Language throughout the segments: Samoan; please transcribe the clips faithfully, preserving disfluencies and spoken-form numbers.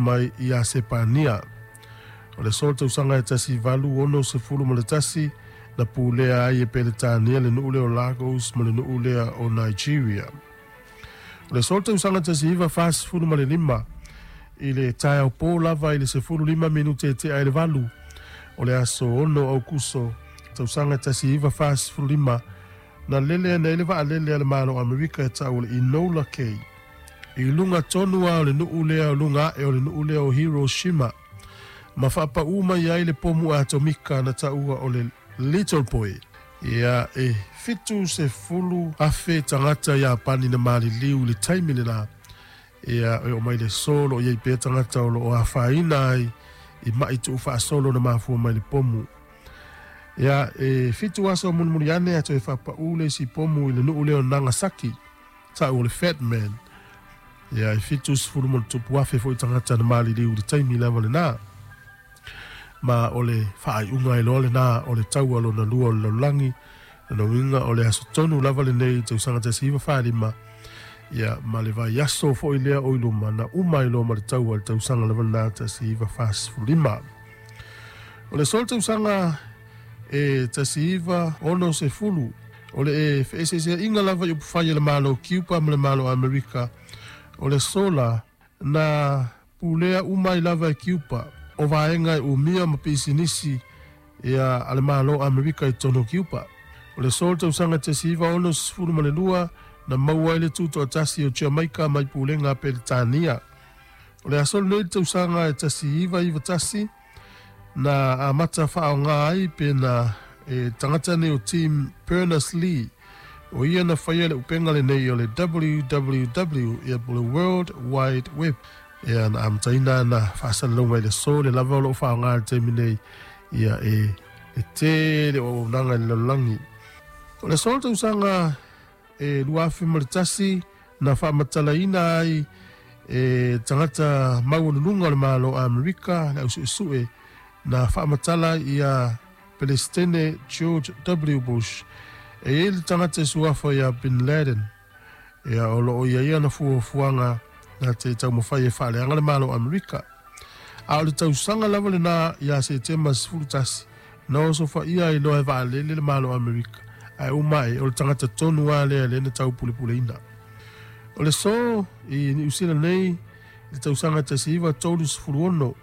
mai ia Sepania. O le so tausaga e tasi valu ono sefulu ma le tasi na pulea ai e Peretania le nuu lea o Lagos ma le nuu lea o Nigeria. O le so tausaga tasi iva fasefulu ma le lima i le taeao pō lava i le sefulu lima minute e tea i le valu o le aso ono Aukuso tausaga tasi iva fasefulu lima na lele ana i le vaalele a le Malo o Amerika e tau o le Enola Gay i luga tonu a o le nuu lea o luga ae o le nuu lea o Hiroshima ma faapaū mai ai le pomu atomika na taua o le Little Boy. Ia e fitu sefulu afe tagata Iapani na maliliu i le taimi lenā. Ia e oo mai le aso o loo i ai pea tagata o loo afaina ai i ma'i tuufaasolo na mafua mai le pomu. Ia e fitu aso mulimuli ane ae toe faapaū le isi pomu i le nuu lea o Nagasaki ta'u o le Fat Man. Ia e fitu sefulu ma le tupu afe fo'i tagata na maliliu i le taimi lava lenā. Ma o le faaiuga ai loa lenā o le taua lona lua o le lalolagi. Lona uiga o le aso tonu lava lenei i tausaga tasi iva falima ia ma le vaiaso fo'i lea o i luma na uma ai loa ma le taua i le tausaga lava lenā tasi iva fasefululima. O le so le tausaga e tasi iva ono sefulu o le e feeseesea'iga lava i upufai a le Malo Kiupa ma le Malo Amerika. O le sola na pulea uma ai lava e Kiupa o vaega e umia ma pisinisi ia a le Malo Amerika i totonu o Kiupa. O le so le tausaga tasi iva ono sefulu ma le lua na maua ai le tuto'atasi o Jamaika mai pulega a Peretania. O le aso lenei le tausaga e tasi iva iva tasi na amata faaogā ai pe na e tagata nei o Tim Berners-Lee o ia na faia le upega lenei o le W W W ia po le World Wide Web. Ia na amataina na faasalalauga i le aso le lava o loo faaaogā i le taimi nei ia e e tele o auaunaga i le lalolagi. O le aso le tausaga e lua afe ma le tasi na faamatalaina ai e tagata maualuluga o le Malo Amerika le ausu'esu'e na faamatala ia Pelestene George W Bush e iai le tagata e suafa ia Bin Laden ia o loo ia ia na fuafuaga na te taumafai e faaleaga le Malo Amerika. A o le tausaga lava lenā ia Setema sefulu tasi na osofa'ia ai loa e vaalele le Malo Amerika ae uma ae o le tagata tonu a lea lea na taupulepuleina. O le so i Niusila nei le tausaga tasi iva tolu sefulu ono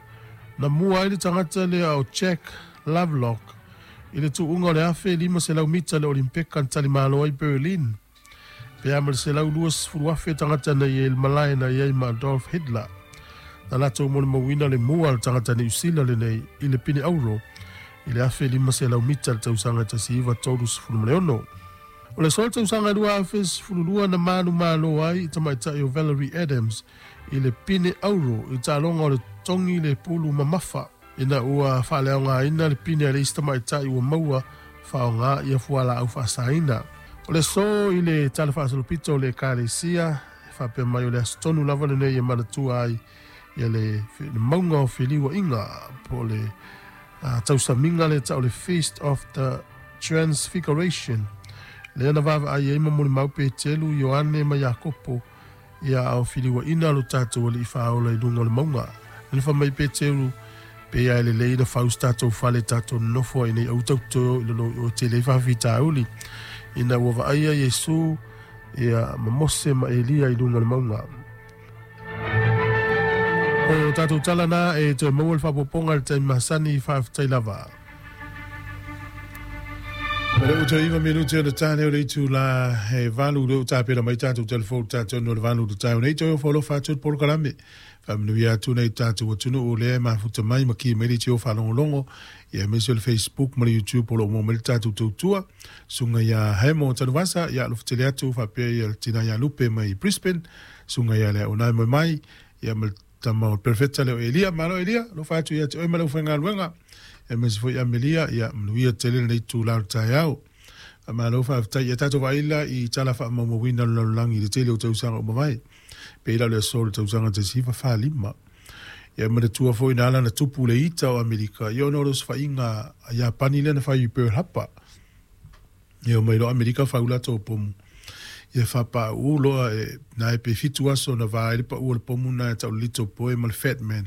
na mua ai le tagata lea o Jack Lovelock i le tu'uga o le afe lima selau mita le Olimpeka na talimalo ai Berlin pe a ma le selau lua sefulu afe tagata na i ai le malae na i ai ma Adolf Hitler na latou molimauina le mua le tagata Niusila lenei i le pine auro i le afe lima selau mita le tausaga tasi iva tolu sefulu ma le ono. O le so le tausaga lua afe sefulu lua na manumalo ai i tamaita'i o Valerie Adams i le pine auro i taaloga o le togi le pulu mamafa ina ua faaleaogaina le pine a le isi tamaita'i ua maua faaaogā ia fualaau faasaina. O le so i le tala faasolopito o le Ekalesia e faapea mai o le aso tonu lava lenei e manatua ai ia le, le mauga o feliua'iga po o le uh, tausamiga le ta'u le Feast of the Transfiguration lea na vaavaai ai ma molimau Petelu, Ioane ma Iakopo ia ao filiuaʻina lo tatou Alii Faaola i luga o le mauga. Le fa mai Petelu pe ia e lelei na fausi tatou fale tatou nonofo ai nei au tautoe i lalo o tele faafitauli ina ua vaaia Iesu ia ma Mose ma Elia i luga o le mauga. O tatou tala na e toe maua le faapopoga i le taimi masani. Faafetai lava. Ma le uta iva minute o le tane o le itu la he valu le uta pera mai tātou telefonu tātou no le valu le tāu nei toi o whalofa atu le polokalame. Whaamanuia atu nei tātou atunu o lea mafuta mai ma ki mai le tio whalongolongo ia mese o le Facebook ma le YouTube o lo mo mai le tātou tautua. Sunga ia Hemo Tanuvasa ia alofutele atu whapea ia tina ia Lupe mai Brisbane. Sunga ia lea onai mai mai ia ma le tama o Perfecta leo Elia. Malo Elia, alofa atu ia te oe ma le uwhaingaluenga. E mese foi Amelia ia manuia tele lenei itulā o le taeao. Faamalo faafetai ia tatou vaaila i tala faamaumauina o le lalolagi i le tele o tausaga ua mavae. Pei la o le aso o le tausaga tasi iva fa lima. Ia manatua foi na ala na tupu le ita o Amerika ia ona o le osofaiga a Iapani lea na fai i Pearl Harbor. Ia omai loa Amerika fau latou pomu. Ia faapāū loa e na e pe fitu aso na va ai le pa'u o le pomu na e ta'u le Little Boy ma le Fat Man.